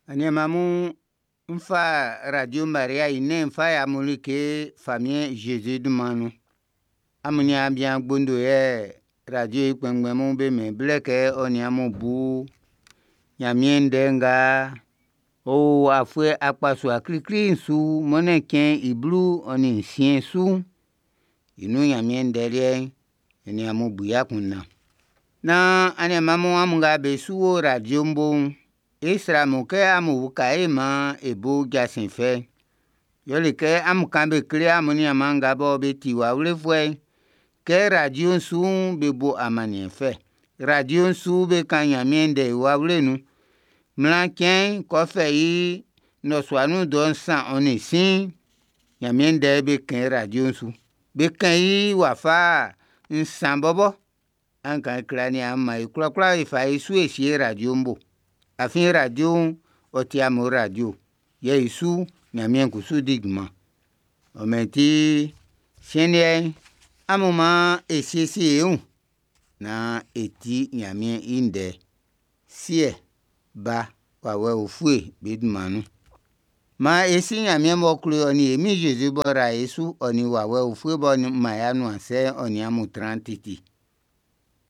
Aniɛnman mun, n fa Radio Maria i nɛn'n n fa yi amun like Famiɛn Zezi dunman nun. Amun niaan bian Gbondo yɛ radio i kpɛnngbɛn mun be mɛn i blɛ kɛ ɔ nin amun bu Ɲanmiɛn ndɛ nga ɔ o afuɛ akpasua klikli'n su mɔnnɛn cɛn i 16 su'n, i nun Ɲanmiɛn ndɛ liɛ'n, e nin amun bu i akunndan. Naan aniɛnman mun amun nga be su wo radio'n bo'n, e srɛ amun kɛ amun uka e maan e bo jasin fɛ'n. Yɛle kɛ amun kan be kle amun niaanman nga bɔ be ti wawlefuɛ'n, kɛ radio'n su'n be bo amanniɛn fɛ. Radio'n su be kan Ɲanmiɛn ndɛ i wawle nun. Mlan cɛn'n kɛ ɔ fɛ i nnɔsua nun dɔ 3:15, Ɲanmiɛn ndɛ'n be kɛn i radio'n su. Be kɛn i wafa nsan bɔbɔ. An kan kle aniaan mun maan e kwlakwla e fa e su e sie radio'n bo. Afin radio'n, ɔ ti amun radio. Yɛ i su Ɲanmiɛn kusu di junman. Ɔ mɛn ti, siɛn liɛ'n, amun maan e siesie e wun naan e ti Ɲanmiɛn i ndɛ. Siɛ, Ba, Wawɛ Ufue be dunman nun. Maan e si Ɲanmiɛn m'ɔ klo e ɔ nin e Min Zezi b'ɔ ra e su ɔ nin Wawɛ Ufue b'ɔ man e anuansɛ'n ɔ nin amun tran titi.